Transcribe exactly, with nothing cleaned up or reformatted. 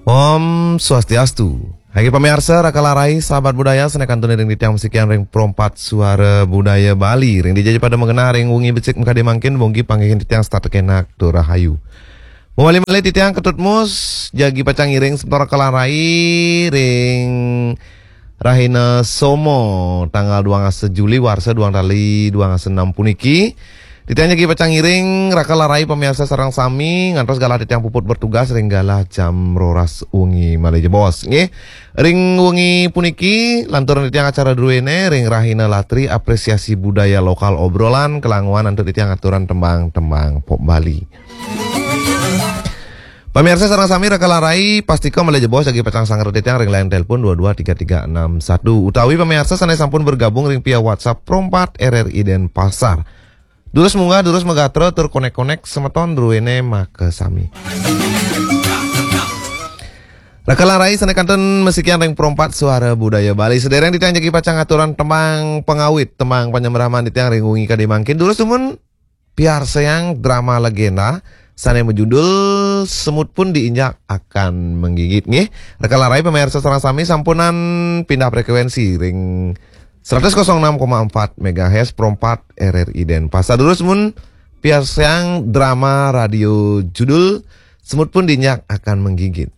Om Swastiastu. Hai pamiarsa, raka larai, sahabat budaya, sané kantun iring titiang masikian ring Pro empat Suara Budaya Bali. Ring dija ja pada magenah ring wengi becik makadi mangkin, mungguing panggihin titiang setata kenak tur rahayu. Mawali malih titiang Ketut Mus, jagi pacang ngiring semeton raka larai ring rahina Somo, tanggal duang dasa Juli warsa duang tali duang dasa enam puniki. Titiang jagi pacang ngiring raka larai pamiarsa sareng sami ngantos galah titiang puput bertugas ring galah jam roras wengi malih jebos, nggih. Ring wengi puniki lanturang titiang acara druéné ring rahina Latri, apresiasi budaya lokal, obrolan kalanguan antuk titiang aturang tembang-tembang pop Bali. Pamiarsa sareng sami raka larai, pastika malih jebos jagi pacang sanget titiang ring line telepon dua dua tiga tiga enam satu, utawi pamiarsa sané sampun bergabung ring via WhatsApp Pro empat R R I Denpasar. Durus munggah, durus magatra, tur konek-konek semeton druéné makasami. Raka larai, sané kantun masikian ring Pro empat Suara Budaya Bali. Sadéréng titiang jagi pacang aturang tembang pangawit, tembang panyembraman titiang ring wengi kadi mangkin. Durus dumun piarsayang drama legenda sané majudul Semut Pun Diinjak Akan Menggigit, nggih. Raka larai pamiarsa sareng sami sampunang pindah frekuensi ring seratus kosong enam koma empat megahertz Pro empat R R I Denpasar. Durus dumun piarsayang drama radio judul Semut Pun Diinjak Akan Menggigit.